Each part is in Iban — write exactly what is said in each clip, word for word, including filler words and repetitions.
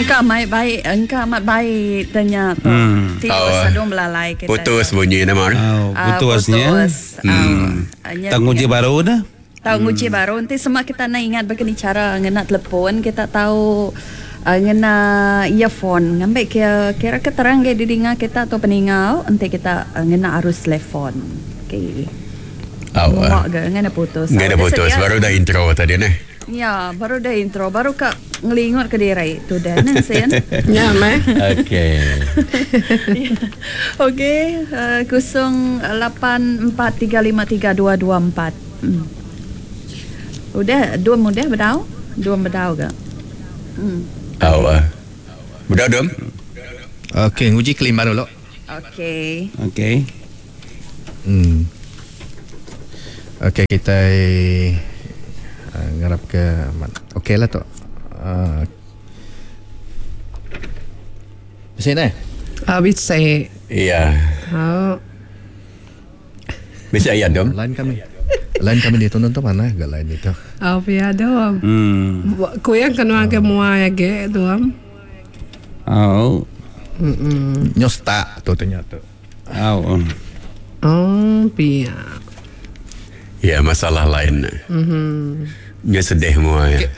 Engka mai baik, engka amat baik tanya tu. Hmm. Ti Oh, sadung belalai kita. Putus bunyi nama. Oh, Ah, putusnya. Putus. Hmm. Tak nguji baru dah. Tahu nguji baru nanti semua kita nak ingat begini cara ngena telefon kita tahu uh, ngena earphone ngambil kira kira keterang ke didinga kita atau peningau nanti kita uh, ngena arus telefon. Okey. Oh, Muak ke ngena putus. Nggak ada Udah putus. sedia? Baru dah intro tadi nih. Ya, baru dah intro, baru kak ngelingut ke diri. Tu dah nang sen. Ya, meh. Okey. Okey, uh, kosong lapan empat tiga lima tiga dua dua empat. Hmm. Udah dua mudah bedau? Dua bedau ke? Hmm. Oh, uh. Budak dom. Okey, nguji kelima dulu. Okey. Okey. Hmm. Okey, kita uh, ngarap ke okey lah tu. Uh, Bisa ni? Ah, bisa. Iya. Oh. Bisa ya dom. Lain kami. Lain kami ditonton tu mana? Gak lain itu. Oh, pia dom. Hmm. Kuyang kena ke mua ya ge dom. Oh. Mm. Nyosta tu tanya tu. Oh. Oh, pia. Ya, masalah lain. Mhm. Nya sedih semua ya.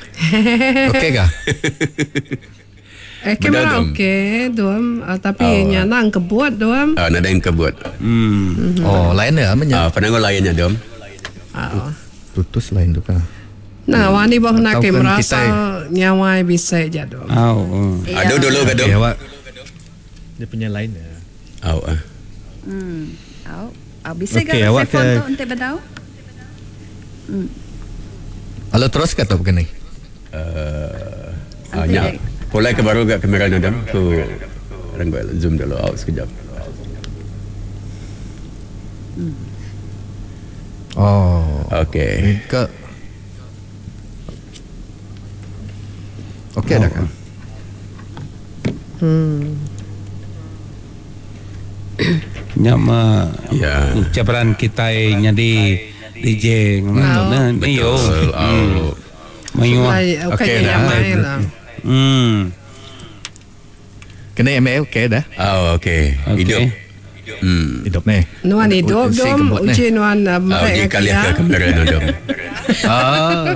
Okey kah? Eh, kamera Bedau, dom. okey dom, Ah, tapi Oh. nya nang kebuat dom. Ah, nada yang kebuat. Hmm. Oh, lain ya amanya. Ah, penanggung lainnya dom. Ah. Tutus lain tu kah? Nah, wani boh nak Atau ke kan merasa kita- nyawa bisa ja dom. Oh. Ya. Aduh dulu ke dom. Okey, awak. Dia punya lain ya. Oh, ah. Hmm. Au. Au bisa Okey, ke awak telefon ke- tu untuk bedau? Hmm. Halo terus ke tu begini? Uh, ah, nya. Pulai ke baru ke kamera ni dom. Tu orang gua zoom dulu out sekejap. Oh. Okey. Ke Okey dah kan? Hmm. Nyama Ya. ucapan kita nyadi D J ngono nah iyo. Betul. Oh. Mayuh. Ay, okey Okey dah. nyawa lah. Hmm. Kena M L okey dah. Oh, okey. Okey. Hidup. Hmm. Hidup ni. Nuan hidup Si dom, kebut ni. uji nuan uh, Oh, mereka dia kali ke kamera ni dom. Ah.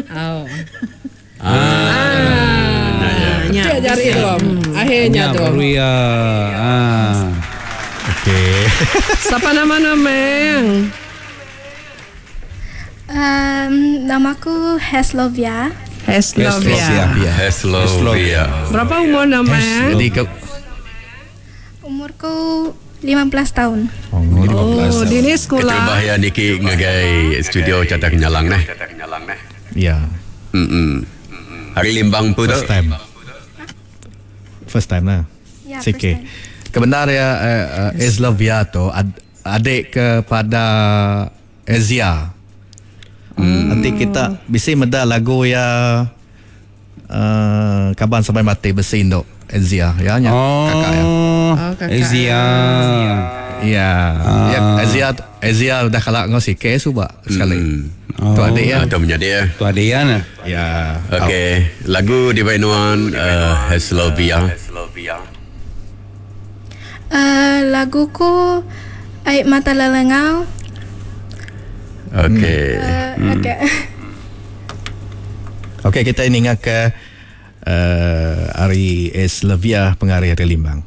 Oh. Ah. Nah, ya. Nya. Dia jari dom. Akhirnya Nya dom. baru ya. Ah. Okey. Siapa nama nameng? Um, namaku Heslovia. Heslovia. Ya. Heslovia. Berapa umur nameng? Jadi ke Umurku lima belas tahun. Oh, Oh, dini sekolah. Keterubah ya Niki ngagai studio Carta Kenyalang neh. Ya. Hmm. Hari Limbang pun tu. First time. First time lah. Ya, Sikit. first time. Kebenar ya eh, eh, Eslovia tu ad, adik kepada Ezia. Hmm. Nanti kita bisa meda lagu ya uh, Kaban Sampai Mati besi induk Ezia ya nya Oh. kakak ya. Oh, kakak. Ezia. Ya. Ya Ezia Ezia dah kalak ngau sikit suba sekali. Hmm. Oh. Tu adik ya. Atau menjadi ya. Tu adik ya nah. Ya. Okey, lagu di Bainuan uh, Heslovia. Uh, laguku Air Mata Lelengau. Okey. Uh, Okey. Okey kita ini ingat ke uh, Ari Eslovia pengarih dari Limbang.